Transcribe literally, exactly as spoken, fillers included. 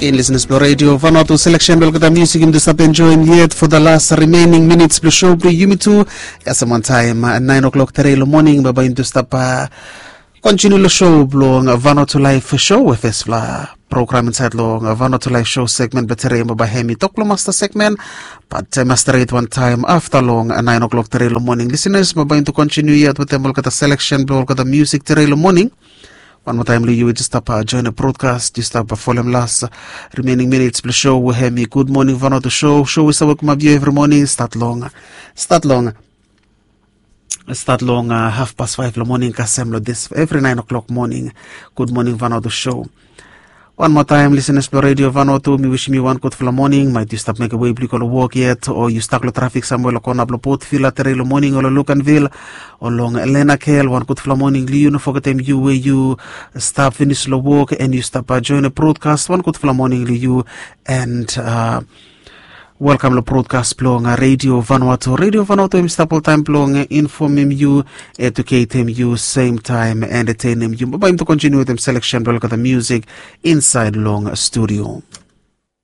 Gen lisenas blong redio Vanuatu, seleksen blong olgeta musik yumi tu stap enjoim yet for the last remaining minutes blong show blong yumi tu. Kasem wantaim nain o'clock tere long moning baba yumi tu stap kontiniu long show blong Vanuatu Live Show, we fespela program insait long Vanuatu Live Show segmen blong tere baba hem i tok blong masta segmen. Bat taim stret wantaim afta long nain o'clock tere long moning, lisenas baba yumi tu kontiniu yet wetem olgeta seleksen blong olgeta musik tere long moning. Wan moa taim long yu i stap join brodkas, yu stap folem las remaining minutes blong show we hem i Good Morning Vanuatu show. Show i save wokim ap yu evri moning stat long stat long stat long haf pas faif long moning kasem long dis evri nain o'clock moning. Good Morning Vanuatu show. Wan moa taim lisenas blong redio Vanuatu, mi wisim yu wan gudfala moning. Maet yu stap mekem wei blong yu go long wok yet, o yu stak long trafik samwe long kona blong Port Vila tere long moning, o long Luganville, o long Lenakel, wan gudfala moning long yu. No fogetem yu we yu stap finis long wok and yu stap join brodkas, wan gudfala moning long yu. And welkam long brodkas blong redio Vanuatu. Redio Vanuatu hem i stap oltaim blong infomem yu, eduketem yu, sem taim entetenem yu. Baba yumi tu kontiniu wetem seleksen blong olgeta musik insait long studio.